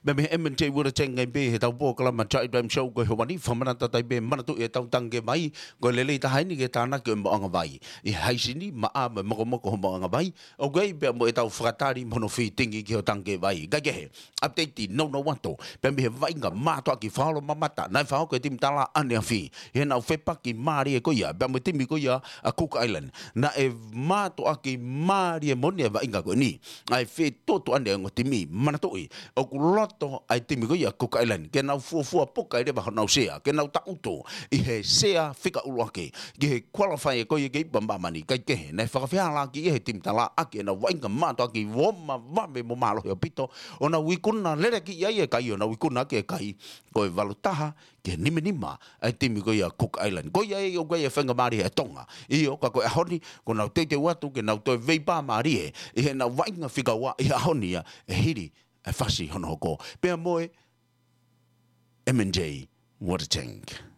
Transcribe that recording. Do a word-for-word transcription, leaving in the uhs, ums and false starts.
Mei he M and J Water Tank ʻa e pē he ʻetau polokalama Charlie Dram Show ko e ʻaho ni, fakamanatu atu ai pē manatuʻi ʻetau tangikē vai, ko e lelei taha eni ke tānaki ʻa e moʻunga vai ʻi he haisi ni, maʻa mo e mokomoko ho moʻunga vai, ʻoku ʻi ai pē mo ʻetau fakatali mo hono fitting ki hoʻo tangikē vai. Kae kehe, update nounou atu pē mei he vaʻinga mātuʻaki fakaʻosi mamata naʻe fakahoko ʻe he timi Tala ʻaneafi ʻi heʻenau fepaki mālie ko ia pea mo e timi ko ia ʻa Cook Island. Naʻe mātuʻaki mālie moʻoni ʻa e vaʻinga ko eni. ʻA e fetuʻutuʻuni ʻa e ongo timi, manatuʻi ʻoku loto ʻa e timi ko ia Cook Island ke nau fuofua puka ʻi leva honau sea, ke nau tangutu ʻi he sea fika ʻuluaki ki he qualify ko ia ki he ipu ʻa māmani. Kae kehe, naʻe fakafehālaaki ia ʻe he timi Tala ʻaki ʻenau vaʻinga mātuʻaki ʻo ma vave mo mālohi ʻaupito, ʻo nau ikuna lelei ki ai e kai, ʻo nau ikuna ʻaki e kai ko e valu taha ki he nima nima ʻa e timi ko ia Cook Island. Ko ia ʻoku ʻi ai e faingamālie ʻa Tonga. ʻIo, ka ko e ʻaho ni, kuo nau teuteu atu ke nau toe veipā mālie ʻi heʻenau vaʻinga fika ua ʻi he ʻaho ni ia ʻe hili ʻa e fasi hono hoko pea mo e M and J Water Tank.